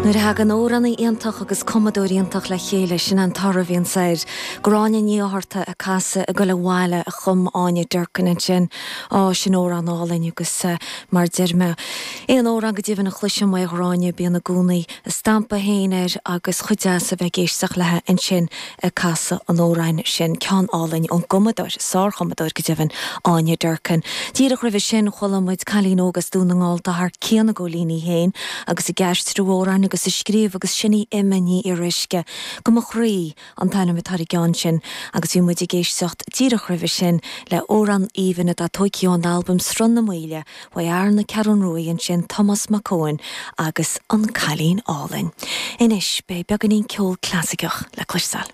Nuair a thagann amhránaí iontach agus cumadóir iontach le chéile, sin an toradh a bhíonns air. Gráinne Ní Fhátharta ag casadh Ag Goil Abhaile a chum Áine Durkin ansin. Á, sin amhrán álainn agus mar deir mé, aon amhrán go deimhin a chloisim ó Ghráinne bíonn i gcónaí a stampa féin air agus chomh deas a bheith ag éisteacht léi ansin ag casadh an amhráin sin, ceann álainn ón gcumadóir, sárchumadóir go deimhin, Áine Durkin. Díreach roimhe sin chuala muid cailín óg as Dún na nGall atá thar cionn ag góilíní féin agus ag aistriú amhráin agus ag scríobh agus sin í Emma Ní Fhíoruisce. Go mo chroí an t-ainm atá ar an gceann sin agus bhí muid ag éisteacht díreach roimhe sin le hamhrán aoibhinn atá tóigthe ón albam Sruth na Maoile uaidh fhear na Ceathrún Ruaidh ansin, Tomás Mac Eoin agus An Cailín Álainn. Anois beidh beagáinín ceol clasaiceach le cloisteáil.